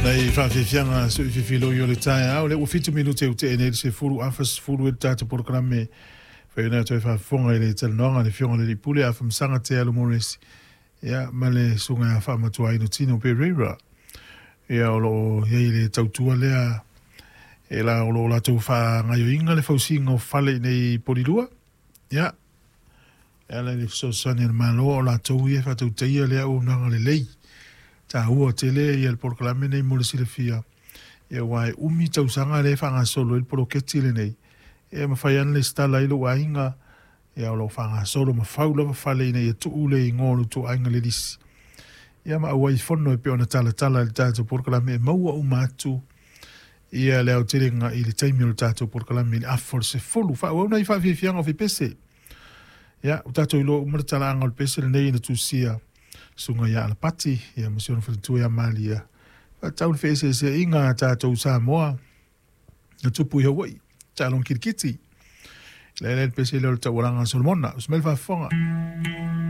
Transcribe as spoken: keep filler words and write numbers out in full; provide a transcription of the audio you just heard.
Nei faafiafiaga soifiafiloi o le taeao lea ua fitu minute e ute'e nei le sefulu afa sefulu i le tatou polokalame faiona toe faafofoga i le talanoaga a le Afioga i le Pule Afamasaga Te Alo Morris, ia ma le susuga ia Faamatuaina Tino Pereira, ia o loo i ai le tautua lea e la o loo latou faagaioiga le fausiga o fale i nei Polilua, ia e ala i le fesoasoani a le Malo o latou ia e faatautaia lea auaunaga lelei taua tele ia le polokalame nei mo le silafia, ia ua e umi tausaga lea e faagasolo ai le poloketi lenei e mafai ana lesitala ai lou aiga, ia o loo faagasolo ma fau lava fale ina ia tuu le igoa o le tou aiga le lisi, ia ma auai fono e pei ona talatala i le tatou polokalame e maua uma atu ia le aotelega i le taimi o le tatou polokalame i le afa o le sefulu. Faaauau nai faafiafiaga o fipese, ia ua tatou iloa uma le talaaga o le pese lenei na tusia susuga ia Alapati ia ma si ona faletua ia Malia faatau le feeseeseaiga a tatou Samoa na tupu i Hawaii taaloga kilikiti le le pese lea o le taualaga a Solomona. Usi mai le faafofoga.